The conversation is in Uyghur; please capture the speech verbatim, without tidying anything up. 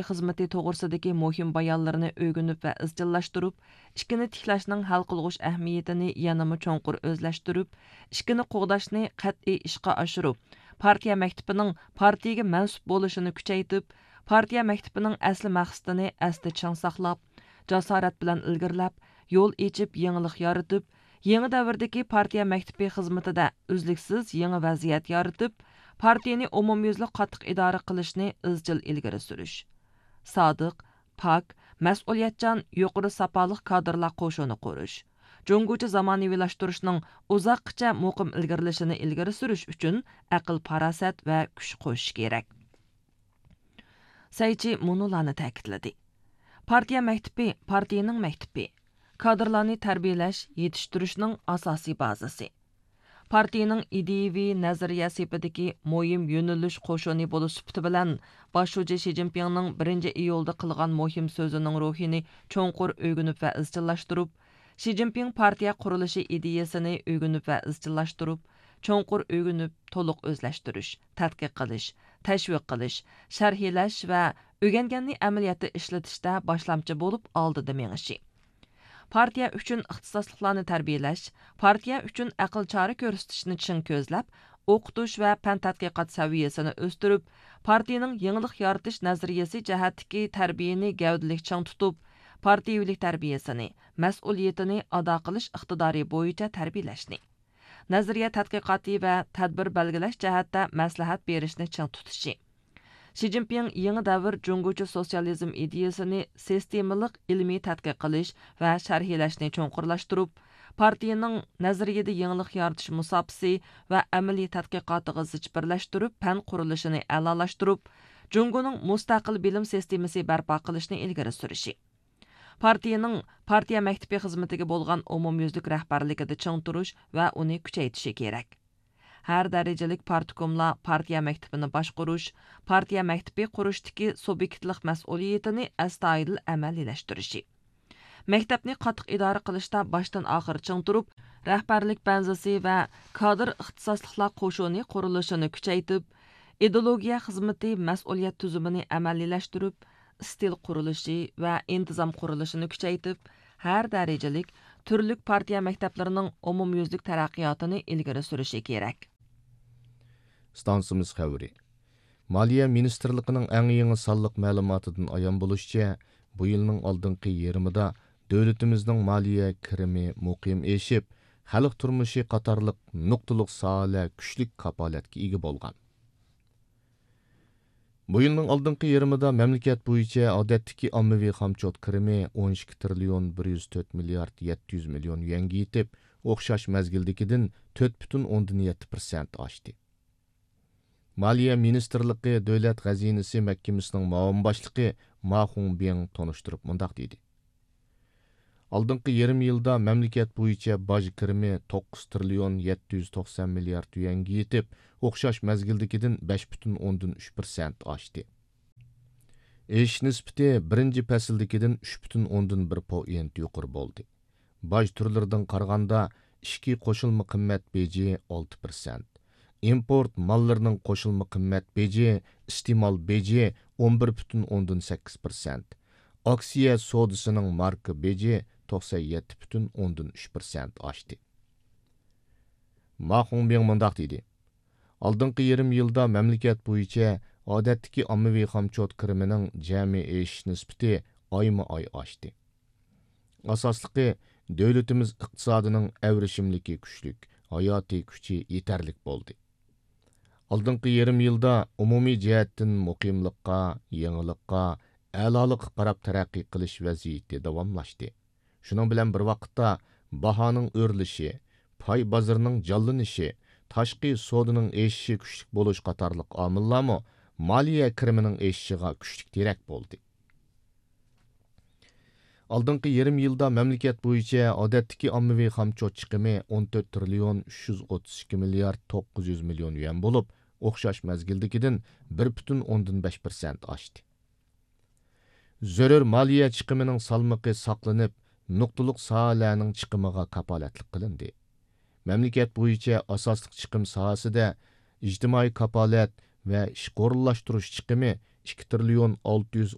خىزمىتى توغرىسىدىكى مۇھىم بايانلىرىنى ئۆگىنىپ ۋە ئىزچىللاشتۇرۇپ، ئىككىنى تىكلەشنىڭ ھەل قىلغۇچ ئەھمىيىتىنى يەنىمۇ چوڭقۇر ئۆزلەشتۈرۈپ، ئىككىنى قوغداشنى قەتئىي ئىشقا ئاشۇرۇپ، پارتىيە مەكتىپىنىڭ پارتىيىگە مەنسۇپ بولۇشىنى كۈچەيتىپ، پارتىيە مەكتىپىنىڭ ئەسلى مەقسىتىنى ئەستە چىڭ ساقلاپ، جاسارەت بىلەن ئىلگىرىلەپ، يول ئېچىپ، يېڭىلىق يارىتىپ، يېڭى دەۋردىكى پارتىيە مەكتىپى خىزمىتىدە ئۈزلۈكسىز يېڭى ۋەزىيەت يارىتىپ، پارتىيىنى ئومۇميۈزلۈك قاتتىق ئىدارە قىلىشنى ئىزچىل ئىلگىرى سۈرۈش. سادىق، پاك، مەسئۇلىيەتچان، يۇقىرى ساپالىق كادىرلار قوشۇنى قۇرۇش. جۇڭگوچە زامانىۋىلاشتۇرۇشنىڭ ئۇزاققىچە مۇقىم ئىلگىرىلىشىنى ئىلگىرى سۈرۈش ئۈچۈن ئەقىل-پاراسەت ۋە كۈچ قوشۇش كېرەك. سەيچى مۇنۇلارنى تەكىتلىدى: پارتىيە مەكتىپى پارتىيىنىڭ مەكتىپى، كادىرلارنى تەربىيەلەش، يېتىشتۈرۈشنىڭ ئاساسىي بازىسى. پارتىيىنىڭ ئىدىيىۋى نەزەرىيە سېپىدىكى مۇھىم يۆنىلىش قوشۇنى بولۇش سۈپىتى بىلەن، باش شۇجى شى جىنپىڭنىڭ بىرىنچى ئىيۇلدا قىلغان مۇھىم سۆزىنىڭ روھىنى چوڭقۇر ئۆگىنىپ ۋە ئىزچىللاشتۇرۇپ، شى جىنپىڭ پارتىيە قۇرۇلۇشى ئىدىيىسىنى ئۆگىنىپ ۋە ئىزچىللاشتۇرۇپ، چوڭقۇر ئۆگىنىپ، تولۇق ئۆزلەشتۈرۈش، تەتقىق قىلىش، تەشۋىق قىلىش، شەرھلەش ۋە ئۆگەنگەننى ئەمەلىيەتتە ئىشلىتىشتە باشلامچى بولۇپ ئالدىدا مېڭىشى. پارتىيە ئۈچۈن ئىختىساسلىقلارنى تەربىيەلەش، پارتىيە ئۈچۈن ئەقىل چارە كۆرسىتىشنى چىڭ كۆزلەپ، ئوقۇتۇش ۋە پەن تەتقىقات سەۋىيەسىنى ئۆستۈرۈپ، پارتىيىنىڭ يېڭىلىق يارىتىش نەزەرىيەسى جەھەتتىكى تەربىيەنى گەۋدىلىك چىڭ تۇتۇپ، پارتىيىۋىلىك تەربىيەسىنى، مەسئۇلىيىتىنى ئادا قىلىش ئىقتىدارى بويىچە تەربىيەلەشنى. نەزەرىيە تەتقىقاتى ۋە تەدبىر بەلگىلەش جەھەتتە مەسلىھەت بېرىشنى چىڭ تۇتۇشى. شى جىنپىڭ يېڭى دەۋر جۇڭگوچە سوتسىيالىزم ئىدىيىسىنى سىستېمىلىق ئىلمىي تەتقىق قىلىش ۋە شەرھلەشنى چوڭقۇرلاشتۇرۇپ، پارتىيىنىڭ نەزەرىيىدە يېڭىلىق يارىتىش مۇساپىسى ۋە ئەمەلىي تەتقىقاتىغا زىچ بىرلەشتۈرۈپ، پەن قۇرۇلۇشىنى ئەلالاشتۇرۇپ، جۇڭگونىڭ مۇستەقىل بىلىم سىستېمىسى بەرپا قىلىشنى ئىلگىرى سۈرۈشى. پارتىيىنىڭ پارتىيە مەكتىپى خىزمىتىگە بولغان ئومۇميۈزلۈك رەھبەرلىكىدە چىڭ تۇرۇش ۋە ئۇنى كۈچەيتىشى كېرەك. ھەر دەرىجىلىك پارتكوملار پارتىيە مەكتىپىنى باشقۇرۇش، پارتىيە مەكتىپى قۇرۇشتىكى سۇبيېكتلىق مەسئۇلىيىتىنى ئەستايىدىل ئەمەلىيلەشتۈرۈشى. مەكتەپنى قاتتىق ئىدارە قىلىشتا باشتىن ئاخىر چىڭ تۇرۇپ، رەھبەرلىك بەنزىسى ۋە كادىر ئىختىساسلىقلار قوشۇنى قۇرۇلۇشىنى كۈچەيتىپ، ئىدېئولوگىيە خىزمىتى مەسئۇلىيەت تۈزۈمىنى ئەمەلىيلەشتۈرۈپ، ئىستىل قۇرۇلۇشى ۋە ئىنتىزام قۇرۇلۇشىنى كۈچەيتىپ، ھەر دەرىجىلىك تۈرلۈك پارتىيە مەكتەپلىرىنىڭ ئومۇميۈزلۈك تەرەققىياتىنى ئىلگىرى سۈرۈشى كېرەك. ئىستانسىمىز خەۋىرى. مالىيە مىنىستىرلىقىنىڭ ئەڭ يېڭى سانلىق مەلۇماتىدىن ئايان بولۇشىچە، بۇ يىلنىڭ ئالدىنقى يېرىمىدا دۆلىتىمىزنىڭ مالىيە كىرىمى مۇقىم ئېشىپ، خەلق تۇرمۇشى قاتارلىق نۇقتىلىق ساھەلەر كۈچلۈك كاپالەتكە ئىگە بولغان. بۇ يىلنىڭ ئالدىنقى يېرىمىدا مەملىكەت بويىچە ئادەتتىكى ئاممىۋى خامچوت كىرىمى ئون ئىككى تىرىليون بىر يۈز تۆت مىليارد يەتتە يۈز مىليون يۈەنگە يېتىپ، ئوخشاش مەزگىلدىكىدىن تۆت پۈتۈن ئوندىن يەتتە پىرسەنت ئاشتى. مالىيە مىنىستىرلىقى دۆلەت خەزىنىسى مەھكىمىسىنىڭ مۇئاۋىن باشلىقى ما خۇڭبىڭ تونۇشتۇرۇپ مۇنداق دېدى: ئالدىنقى يېرىم يىلدا مەملىكەت بويىچە باج كىرىمى توققۇز تىرىليون يەتتە يۈز توقسان مىليارد يۈەنگە يېتىپ، ئوخشاش مەزگىلدىكىدىن بەش پۈتۈن ئوندىن ئۈچ پىرسەنت ئاشتى. ئېشىش نىسبىتى بىرىنچى پەسىلدىكىدىن ئۈچ پۈتۈن ئوندىن بىر پوئېنت يۇقىرى بولدى. باج تۈرلىرىدىن قارىغاندا، ئىچكى قوشۇلما قىممەت بېجى ئالتە پىرسەنت، ئىمپورت ماللىرىنىڭ قوشۇلما قىممەت بېجى، ئىستېمال بېجى ئون بىر پۈتۈن ئوندىن سەككىز پىرسەنت، ئاكسىيە سودىسىنىڭ ماركا بېجى توقسان يەتتە پۈتۈن ئوندىن ئۈچ پىرسەنت ئاشتى. ما خۇڭبىڭ مۇنداق دېدى: ئالدىنقى يېرىم يىلدا مەملىكەت بويىچە ئادەتتىكى ئاممىۋى خامچوت كىرىمىنىڭ جەمئىي ئېشىش نىسبىتى ئايمۇ ئاي ئاشتى. ئاساسلىقى، دۆلىتىمىز ئىقتىسادىنىڭ ئەۋرىشىملىكى كۈچلۈك، ھاياتىي كۈچى يېتەرلىك بولدى. ئالدىنقى يېرىم يىلدا ئومۇمىي جەھەتتىن مۇقىملىققا، يېڭىلىققا، ئەلالىققا قاراپ تەرەققىي قىلىش ۋەزىيىتى داۋاملاشتى. شۇنىڭ بىلەن بىر ۋاقىتتا، باھانىڭ ئۆرلىشى، پاي بازىرىنىڭ جانلىنىشى، تاشقى سودىنىڭ ئېشىشى كۈچلۈك بولۇش قاتارلىق ئامىللارمۇ مالىيە كىرىمىنىڭ ئېشىشىغا كۈچلۈك تىرەك بولدى. ئالدىنقى يېرىم يىلدا مەملىكەت بويىچە ئادەتتىكى ئاممىۋى خامچوت چىقىمى ئون تۆت تىرىليون ئۈچ يۈز ئوتتۇز ئىككى مىليارد توققۇز يۈز مىليون يۈەن بولۇپ، ئوخشاش مەزگىلدىكىدىن بىر پۈتۈن ئوندىن بەش پىرسەنت ئاشتى. زۆرۈر مالىيە چىقىمىنىڭ سالمىقى ساقلىنىپ، نۇقتىلىق ساھەلەرنىڭ چىقىمىغا كاپالەتلىك قىلىندى. مەملىكەت بويىچە ئاساسلىق چىقىم ساھەسىدە ئىجتىمائىي كاپالەت ۋە ئىشقا ئورۇنلاشتۇرۇش چىقىمى ئىككى تىرىليون ئالتە يۈز